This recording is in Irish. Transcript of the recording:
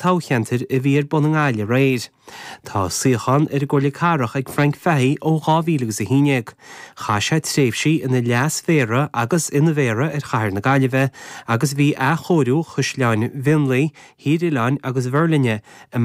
Toghcheantair a bhí ar bun i nGaillimh aréir. Tá suíochán ar an gComhairle Cathrach ag Frank Fahy ó 2011. Chaith sé tréimhsí ina leas-mhéara agus ina mhéara ar chathair na Gaillimhe agus bhí athchóiriú Chaisleáin Mhionlaigh, Thír Oileáin agus Mhuirlinne i.